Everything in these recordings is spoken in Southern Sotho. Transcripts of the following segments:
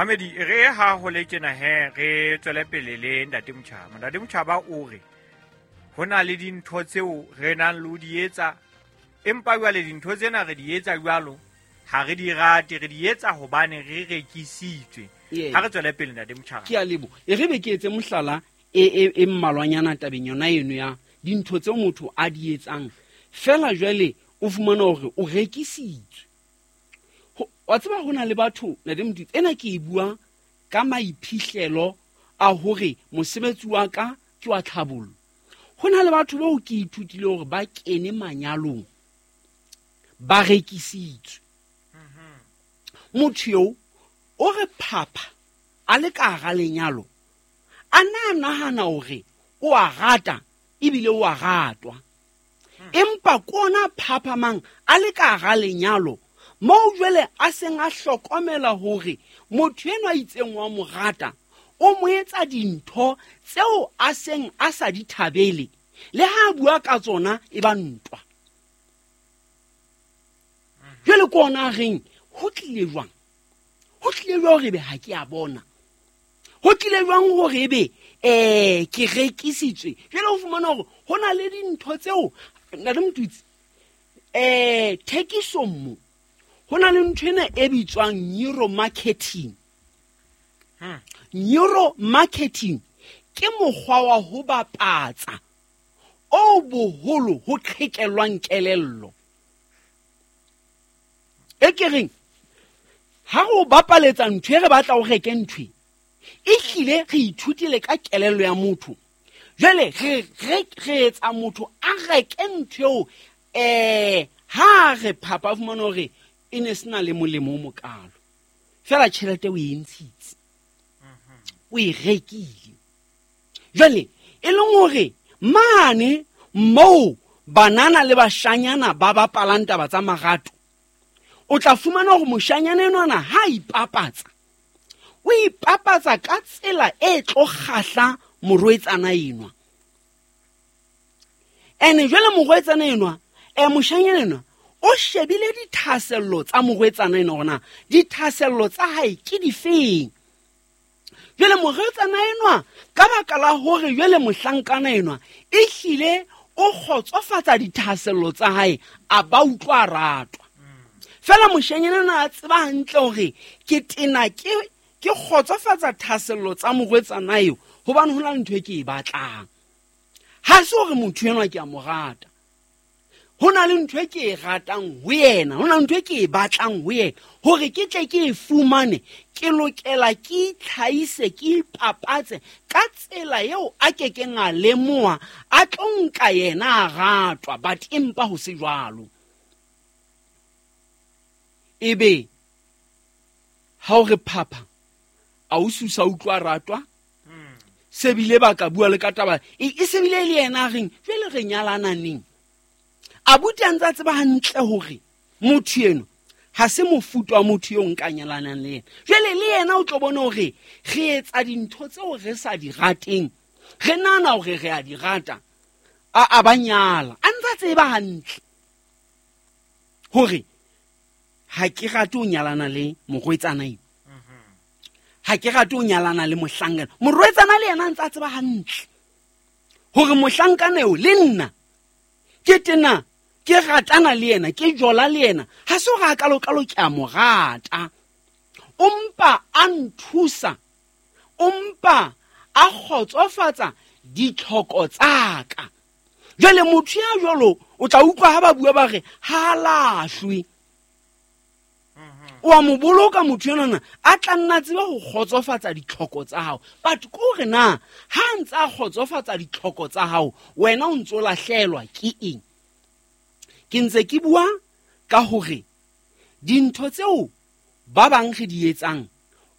Mamedi, re ha ho le tjena he, re tswele pele le Ntate Motjhaba. Ntate Motjhaba o re ho na le dintho tseo re nang le ho di etsa, empa jwale dintho tsena re di etsa jwalo ha re di rate, re di etsa hobane re rekisitswe. Ha re tswele pele, Ntate Motjhaba. Ke a lebo. E re be ke etse mohlala e mmalwanyana tabeng yona eno ya dintho tseo motho a di etsang. Fela jwale o fumana hore o rekisitswe. Wa tseba ho na le batho, Ntate Motutsi, ena ke e bua ka maiphihlelo a hore mosebetsi wa ka ke wa tlhabollo. Ho na le batho bao ke ithutile hore ba kene manyalong ba rekisitswe. Motho eo o re phapha a le ka hara lenyalo, a na nahana hore o a rata ebile o a ratwa. Empa kona phaphamang a le ka hara lenyalo, moo jwale a seng a hlokomela hore motho enwa a itseng wa mo rata, o mo etsa dintho tseo a seng a sa di thabele, le ha a bua ka tsona e ba ntwa. Jwale ke ona a reng, ho tlile jwang? Ho tlile jwang hore ebe ha ke a bona? Ho tlile jwang hore ebe, ke rekisitswe? Jwale o fumana hore ho na le dintho tseo, Ntate Motutsi, thekisong mo, ho na le ntho ena e bitswang neuromarketing. Neuromarketing ke mokgwa wa ho bapatsa o boholo ho qhekellwang kelello. E ke reng, ha re o bapaletsa ntho e re batla o reke ntho e, ehlile re ithutile ka kelello ya motho. Jwale re etsa motho a reke ntho eo, ha re phapa fumana hore e ne sena le molemo o mokalo. Fela tjhelete o e ntshitse, o e rekile. Jwale e leng hore mane moo banana le bashanyana ba bapalang taba tsa marato, o tla fumana hore moshanyana enwana ha a ipapatsa, o ipapatsa ka tsela e tlo kgahla morwetsana enwa. Ene jwale morwetsana enwa, moshanyana enwa, o shebile dithahasello tsa morwetsana enwa hore na dithahasello tsa hae ke difeng. Jwale morwetsana enwa, ka baka la hore jwale mohlankana enwa ehlile o kgotsofatsa dithahasello tsa hae, a ba utlwa a ratwa. Fela moshanyana enwa a tseba hantle hore ke tena ke kgotsofatsa thahasello tsa morwetsana eo, hobane ho na le ntho e ke e batlang. Ha se hore motho enwa ke a mo rata, ho na le ntho e ke e ratang ho yena, ho na le ntho e ke e batlang ho yena. Hore ke tle ke e fumane, ke lokela ke itlhahise, ke ipapatse ka tsela eo a kekeng a lemoha, a tlo nka yena a ratwa, but empa ho se jwalo. Ebe ha o re phapha, a o susa utlwa ratwa, se bile ba ka bua le ka taba, e se bile le yena a reng, jwale re nyalana neng? Abuti a ntse a tseba hantle hore motho eno ha se mofuta wa motho eo nka nyalanang le yena. Jwale le yena o tlo bona hore re etsa dintho tseo re sa di rateng, re nahana hore re a di rata, a ba nyala. A ntse a tseba hantle hore ha ke rate ho nyalana le morwetsana eo, ha ke rate ho nyalana le mohlankana. Morwetsana le yena a ntse a tseba hantle hore mohlankana eo le nna ke tena ke ratana le yena, ke jola le yena, ha se hore a kalokalo ke a mo rata. O mpa a nthusa, o mpa a kgotsofatsa ditlhoko tsa ka. Jwale motho ya jwalo o tla utlwa ha ba bua ba re ha a lahlwe. O a mo boloka motho enwana, a tla nna tsebe ho kgotsofatsa ditlhoko tsa hao. But ke hore na ha a ntse a kgotsofatsa ditlhoko tsa hao, wena o ntso lahlelwa ke eng? Ke ntse ke bua ka hore dintho tseo ba bang re di etsang,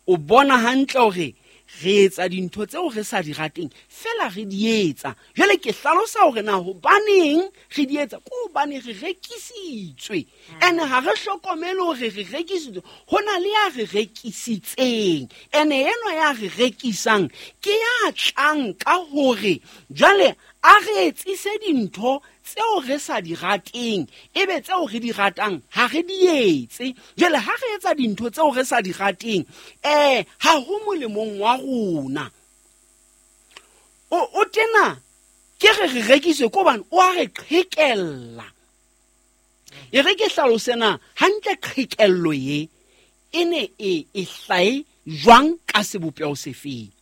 o bona hantle hore re etsa dintho tseo re sa di rateng, fela re di etsa. Jwale ke hlalosa hore na hobaneng re di etsa, ke hobane re rekisitswe. Ene ha re hlokomele hore re rekisitswe, ho na le ya re rekisitseng. Ene enwa ya re rekisang ke ya tlang ka hore jwale A re etsise dintho tseo re sa di rateng, ebe tseo re di ratang ha re di etse. Jwale ha re etsa dintho tseo re sa di rateng, ha ho molemong wa rona. O tena ke re re rekiswe ke hobane o a re qhekella. E re ke hlalose na hantle qhekello ye e ne e hlae jwang ka sebopeho sefeng.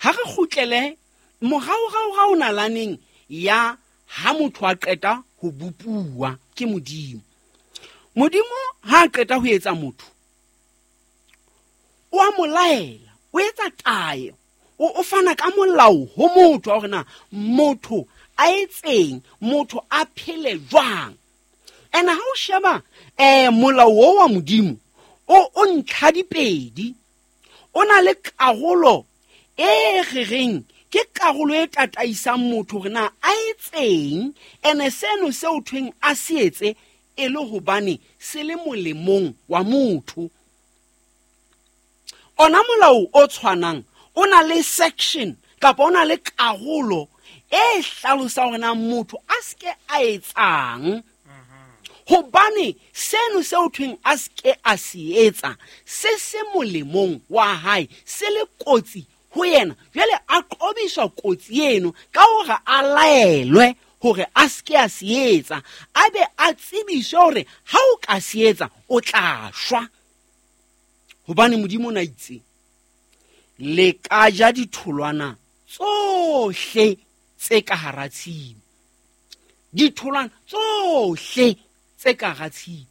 Ha re kgutlele moraorao nalaneng ya ha motho a qeta ho bopuwa ke Modimo. Modimo ha a qeta ho etsa motho, o a mo laela, o etsa tayo, o fana ka molao ho motho wa hore na motho a etseng, motho a phele jwang. Ene ha o sheba molao o wa Modimo o ntlha dipedi, o na le karolo e re reng ke karolo e tataisang motho hore na a etseng, ene seno seo thweng a se etse e le hobane se le molemong wa motho. Ona molao o tshwanang o na le section kapa o na le karolo e hlalosang hore na motho a se ke a etsang, hobane seno seo thweng a se ke a se etsa se se molemong wa hae, se le kotsi ho yena. Jwale a qobiswa kotsi eno ka hore a laelwe hore a se ke a se etsa, a be a tsebiswe hore ha o ka se etsa o tla shwa. Hobane Modimo o na itse, le ka ja ditholwana tsohle tse ka hara tshimo, ditholwana tsohle tse ka hara tshimo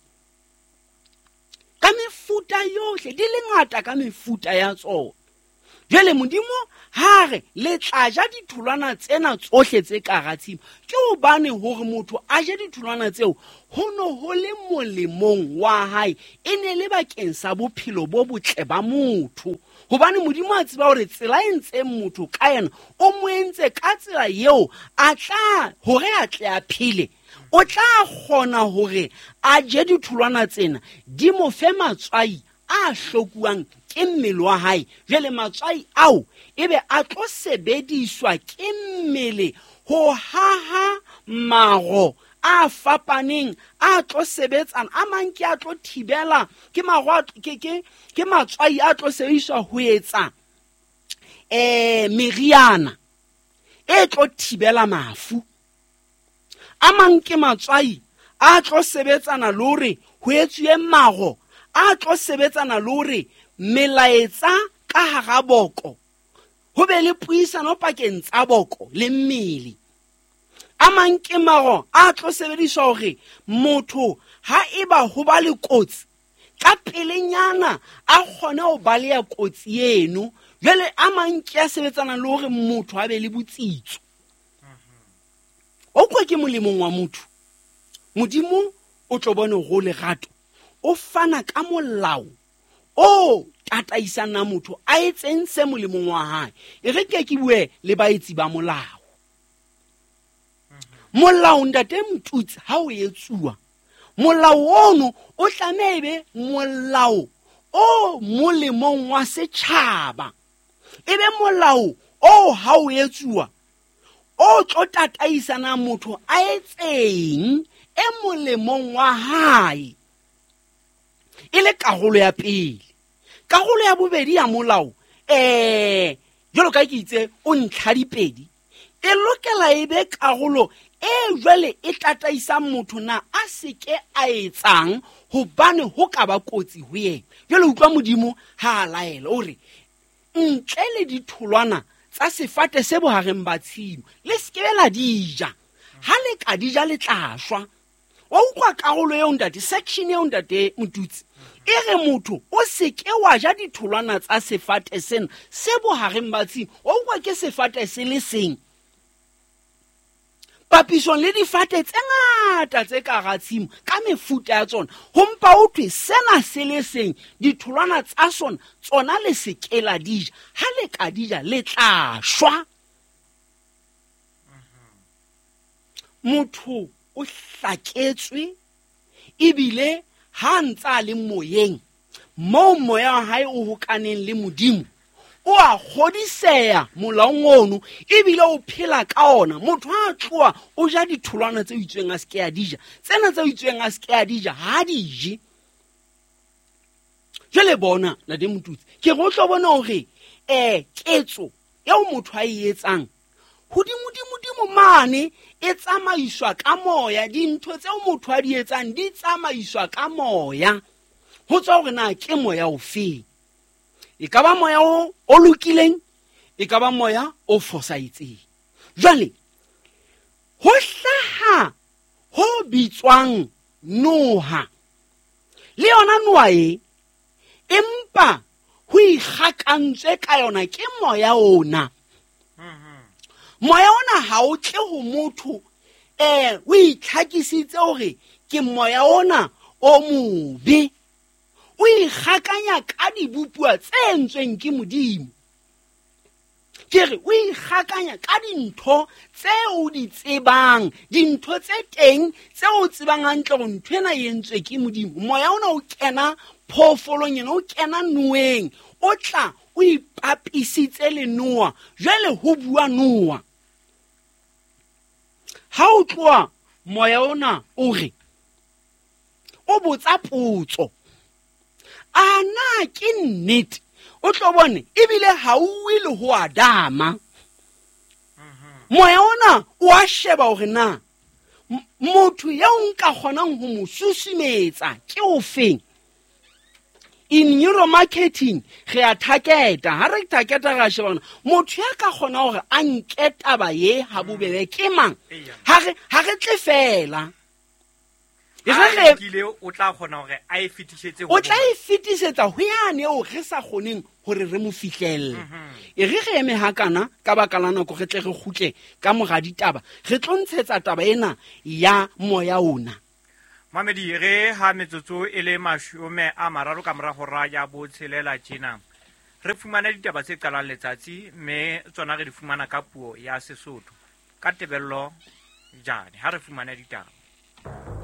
ka mefuta yohle, di le ngata ka mefuta ya tsona. Jwale Modimo ha re le tla ja ditholwana tsena tsohle tse ka hara tshimo, ke hobane hore motho a je ditholwana tseo ho no ho le molemong wa hae, e ne le bakeng sa bophelo bo botle ba motho. Hobane Modimo a tseba hore tsela e ntseng motho ka yena o mo entse ka tsela eo a tla hore a tle a phele, o tla kgona hore a je ditholwana tsena di mo fe matswai a hlokuwang ke mmele wa hae. Jwale matswai ao ebe a tlo sebediswa ke mmele ho haha maro a fapaneng a tlo sebetsana, a mang ke a tlo thibela ke maro a ke matswai a tlo sebediswa ho etsa meriana e tlo thibela mafu. A mang ke matswai a tlo sebetsana le hore ho etsuwe maro a tlo sebetsana le hore melaetsa ka hara boko ho be le puisano pakeng tsa boko le mmele. A mang ke maro a tlo sebediswa hore motho ha eba ho ba le kotsi ka pelenyana a kgone ho baleha kotsi eno. Jwale a mang ke a sebetsana le hore motho a be le botsitso. O kwa ke molemong wa motho. Modimo o tlo bone ho lerato, o fana ka molao o tataisang na motho a etseng se molemong wa hae. E re ke bue le baetsi ba molao. Molao ntate Motutsi ha o etsuwa, molao ono o tlameha e be molao o molemong wa setjhaba, e be molao o ha o etsuwa o tlo tataisana motho a etseng e molemong wa hae. E le karolo ya pele. Karolo ya bobedi ya molao, jwalo ka ke itse o ntlha dipedi, e lokela e be karolo e jwale e tataisang motho na a se ke a etsang hobane ho ka ba kotsi ho yena. Jwale utlwa Modimo ha a laela o re ntle le ditholwana tsa sefate se bohareng ba tshimo le se ke la di ja, ha le ka di ja le tla shwa. Wa utlwa karolo eo ntate, section eo ntate Motutsi, e re motho o se ke wa ja ditholwana tsa sefate sena se bohareng ba tshimo. Wa utlwa ke sefate se le seng papisong le difate tse ngata tse ka hara tshimo ka mefuta ya tsona, ho mpa ho thwe sena se le seng ditholwana tsa sona tsona le se ke la di ja, ha le ka di ja le tla shwa. Motho o hlaketswe ebile ha ntse a le moyeng moo moya wa hae o hokaneng le Modimo, O a kgodiseya molaong ono ebile o phela ka ona. Motho ha a tloha o ja ditholwana tse itsweng a se ke a di ja, tsena tse itsweng a se ke a di ja ha di je. Jwale bona ntate Motutsi, ke re o tlo bona hore ketso eo motho a e etsang hodimodimodimo mane e tsamaiswa ka moya. Dintho tseo motho a di etsang di tsamaiswa ka moya, ho tswa hore na ke moya ofeng. E ka ba moya o lokileng, e ka ba moya o fosahetseng. Jwale ho hlaha ho bitswang noha, le yona noha e empa ho ikgakantswe ka yona ke moya ona. Moya ona ha o tle ho motho, o itlhakisitse hore ke moya ona o mobe. O ikgakanya ka dibopuwa tse entsweng ke Modimo. Ke re o ikgakanya ka dintho tse o di tsebang, dintho tse teng tse o tsebang hantle hore ntho ena e entswe ke Modimo. Moya ona o kena phoofolong ena, o kena noeng, o tla o ipapisitse le noa. Jwale ho bua noa. Ha o tloha moya ona o re, o botsa potso, a na ke nnete? O tlo bone ebile ha o uwe le ho Adama. Moya ona o a sheba hore na motho eo nka kgonang ho mo susumetsa ke ofeng. In neuromarketing re a targeta, ha re targeta re a sheba hore motho ya ka kgona hore a nke taba ye ha bobebe ke mang. Ha re tle fela. E re kile o tla kgona hore a e fetisetse ho O tla e fetisetsa ho yane eo re sa kgoneng hore re mo fihlelle. E re re eme hakana ka baka la nako, re tle re kgutle ka mora ditaba, re tlo ntshetsa taba ena ya moya ona. Mamedi, re ha metsotso e le 30 ka mora hora ya 6 tjena, re fumana ditaba tse qalang letsatsi, mme tsona re di fumana ka puo ya Sesotho ka Tebello Jane. Ha re fumane ditaba.